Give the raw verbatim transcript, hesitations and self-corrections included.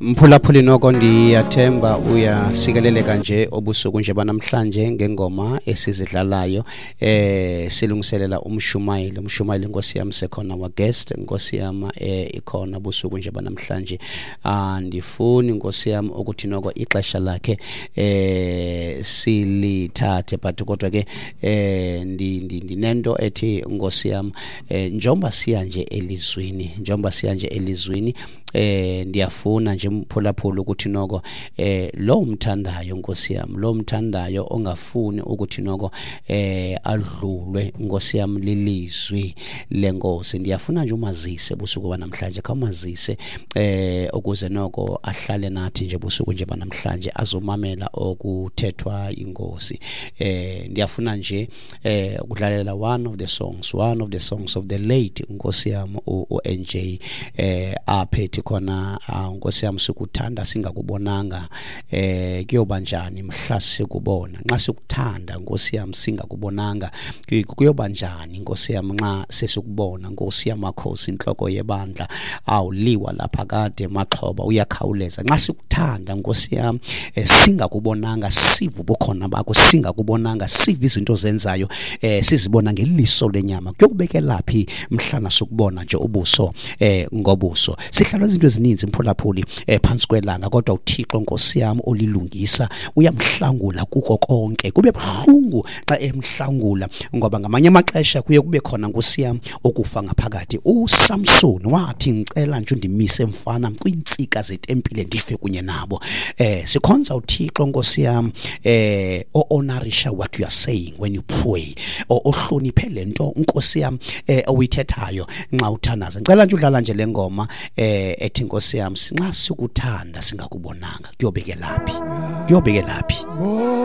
Mphulaphuli, noko ndiyathemba uyasikeleleka nje obusuku nje banamhlanje ngengoma esizidlalayo. eh silungiselela umshumayeli umshumayeli Nkosi yami, sekhona our guest, Nkosi yami, eh ikhona busuku nje banamhlanje. Andifuni, Nkosi yami, ukuthi noko ixesha lakhe eh silithathe, but kodwa ke eh ndinento ethi, Nkosi yami, eh njengoba siya nje elizwini njengoba siya nje elizwini eh ndiyafuna nje, mphulaphula, ukuthi noko eh lo umthandayo, Nkosi yami, lo umthandayo ongafuni ukuthi noko eh adlulwe, Nkosi yami, lilizwi lenkosi, ndiyafuna nje umazise busuku banamhlanje. Khawumazise eh ukuze noko ahlale nathi nje busuku nje banamhlanje, azomamela okuthethwa inkosi. eh ndiyafuna nje eh ukudlalela one of the songs one of the songs of the late, Nkosi yami, u-N J, eh aphethe khona, Nkosi yami, "Sikuthanda singakubonanga, eh kuyoba njani mhla sikubona?" Nxa sikuthanda, Nkosi yami, singakubonanga, kuyoba njani, Nkosi yami, nxa sesikubona? Nkosi yamakhosi, inhloko yebandla, awuliwa lapha kade maxhoba uyakhawuleza. Nxa sikuthanda, Nkosi yami, singakubonanga, siva ubukhona bakho singakubonanga, siva izinto zenzayo, eh sizibona ngeliso lenyama, kuyokubekelaphi mhlana sokubona nje ubuso eh ngobuso? Sihlala izinto ezininzi, mphulaphuli, eh phansi kwelanga, kodwa uThixo, Nkosi yami, olilungisa uyamhlangula kuko konke. Kube buhlungu xa emhlangula, ngoba ngamanye amaxesha kuye kube khona, Nkosi yami, okufa ngaphakathi. USamson wathi, "Ngicela nje undimise, mfana, kwintsika zetempile, ndife kunye nabo." eh sikhonza uThixo, Nkosi yami, eh o-honorisha what you are saying when you pray, ohloniphe lento, Nkosi yami, eh oyithethayo nxa uthandaza. Ngicela nje udlala nje le ngoma eh ethi, Nkosi yami, "Nxa sikuthanda singakubonanga, kuyobekelaphi, kuyobekelaphi?"